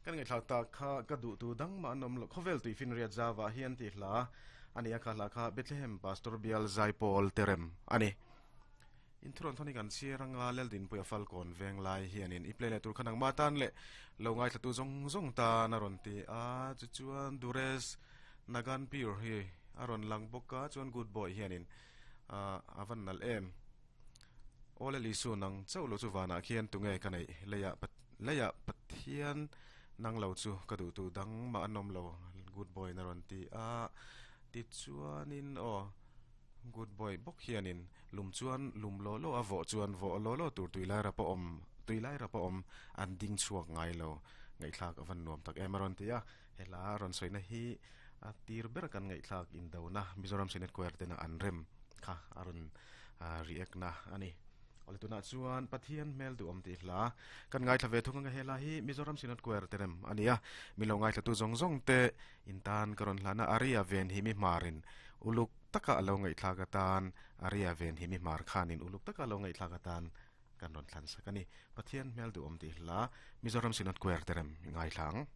Kan ngaihthlak tak kha ka duh tu dang mah an awm lo. Khawvel tuifinriat zauah hian tih hla a ni a, kha hla kha Bethlehem Pastor Bial Zaipawl Terem a ni. Inthuruan thawn hi kan chhiar anga Leldinpuia Falkawn veng lai hianin i play leh tur kha nangmah tan leh lo ngaithlatu zawng zawng tan a rawn ti a, chu chuan Dures Nagan Pure hi a rawn lang bawk a, chuan Good Boy hianin a van nalh em. Aw le Lisu nang chauh lo chu vanah khian tunge ka neih leiah leiah Pathian nang lo chu ka duh tu dang mah an awm lo Good Boy in a rawn ti a, tichuanin aw. Good boy bawk hianin lum chuan lum law law a vawh chuan vawh law law tur tui lai rap a awm tui lai rap a awm an ding chhuak ngai lo ngaihthlak a van nuam tak em a rawn ti a he hla rawn sawina hi a tir ber kan ngaihthlak indona Mizoram Senate Choir tena an rem kha a rawn react na a ni. Awle tunah chuan Pathian hmel duhawm tih hla kan ngaithla ve thung anga he hla hi Mizoram Synod Choir te rem a ni a min lo ngaithlatu zawng zawng te In tan ka rawn hlan a, Aria ven hi mi hmarin uluk taka a lo ngaihthlak atan, Aria ven hi mi hmar khanin uluk taka a lo ngaihthlak atan kan rawn thlan sak a ni. Pathian hmel duhawm tih hla Mizoram Synod Choir te rem i ngaithla ang.